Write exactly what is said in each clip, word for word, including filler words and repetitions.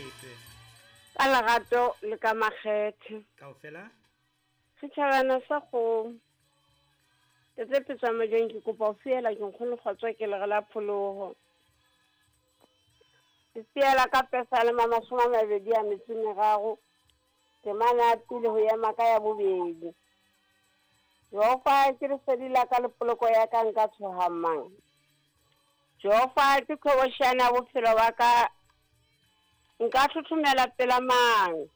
letwe. Ka lerato le ka makgethe. Kaofela? Setjhabana sa kgomo. Tete Petswa Majweng ke kopa ho fiela ke nkgono kgotso ke lere la pholoho. Ke fiela ka Pesalema mashome a mabedi a metso e meraro. Temana ya pele ho ema ka ya bobedi. Jehova ke lesedi la ka le poloko ya ka, nka tshoha mang? Jehova ke qhobosheane ya bophelo ba ka, nka thothomela pela mang?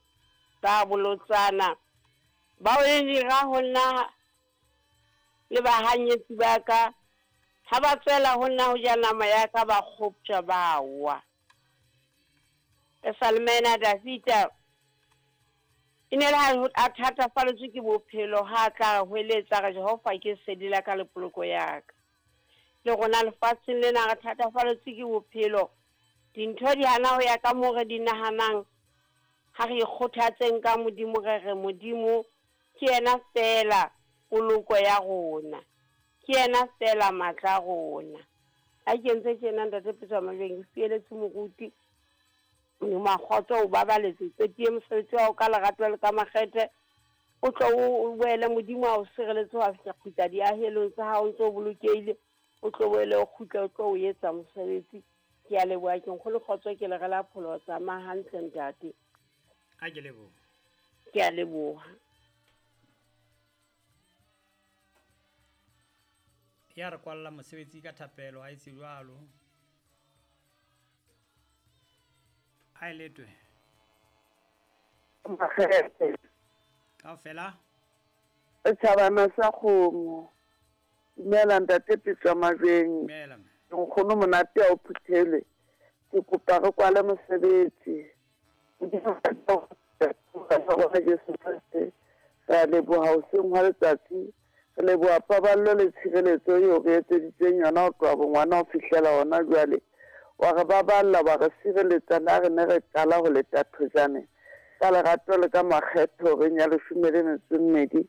Ba bolotsana bao e dira ho nna le bahanyetsi ba ka, ha ba tswela ho nna ho ja nama ya ka, ba kgoptjwa ba wa. Pesalema ena Davida e ne le ha a thatafalletswe ke bophelo, ha a tla hweletsa re Jehova ke lesedi la ka le poloko ya ka. Le rona lefatsheng lena re thatafalletswe ke bophelo, dintho di hana ho ya ka moo re di nahanang. Ha re ikgothatseng ka Modimo, re re Modimo ke yena feela poloko ya rona, ke yena feela matla a rona. Ha ke ntse tjena Ntate Petswa Majweng, ke fieletse moruti Modimo a kgotso o babaletse qetie mosebetsi wa hao ka lerato le ka makgethe, o tlo o boele Modimo a o sireletse ho fihla kgutla diahelong tsa hao ntse o bolokehile, o tlo boele o kgutle o tlo o etsa mosebetsi. Ke a leboha, ke nkgono kgotso ke lere la pholoho. Tsamaya hantle ntate. A ke leboha. Ke a leboha. Ya re kwalla mosebetsi ka thapelo ha etse jwalo. A e letwe. Makgethe. Kaofela? Setjhabana sa kgomo. Dumela Ntate Petswa Majweng. Dumela mme. Nkgono monate a o phuthele. Ke kopa re kwale mosebetsi. Modimo wa Jesu Kreste, re a leboha hoseng hwa letsatsi. Re leboha paballo le tshireletso eo re etseditseng yona ho tloha bongwana ho fihlela hona jwale. Wa re baballa, wa re sireletsa le ha re ne re qala ho leta thojane. Ka lerato le ka makgetho horeng ya leshome le metso e mmedi.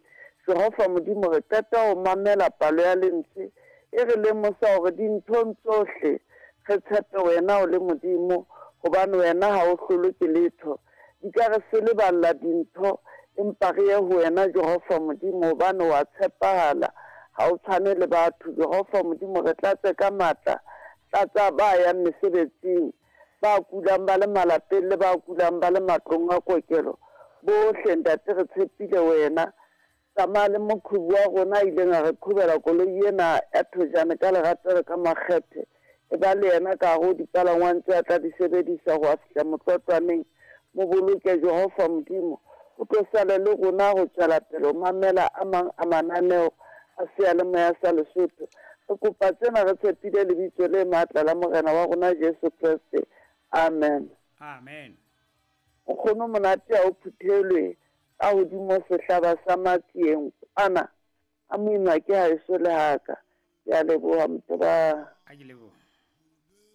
Jehova Modimo, re qeta ho mamela palo ya lentswe e re lemosa hore dinthong tsohle re tshepe wena o le Modimo, hobane wena ha o hlolwe ke letho. Di ka re se leballa dintho, empa re ye ho wena Jehova Modimo, hobane wa tshepahala, ha o tshwane le batho. Jehova Modimo, re tlatse ka matla, tlatsa ba yang mesebetsing, ba kulang ba le malapeng le ba kulang ba le matlong a kokelo. Bohle Ntate re tshepile wena. Tsamaya le moqhubu wa rona a ileng a re qhubela koloi ena ya thojane ka lerato le ka makgethe. E ba le yena ka hare ho dipalangwang tse a tla di sebedisa ho a fihla motlotlwaneng. Mo boloke Jehova Modimo, o tlo sale le rona ho tswela pele ho mamela a mang a mananeo a seyalemoya sa Lesotho. Re kopa tsena re tshepile lebitso le matla la Morena wa rona Jesu Kreste. Amen. Amen. Nkgono monate a o phuthelwe ka hodimo sehlaba sa matsieng kwana a moima ke haeso le haka. Ke a leboha moteba. A ke leboha.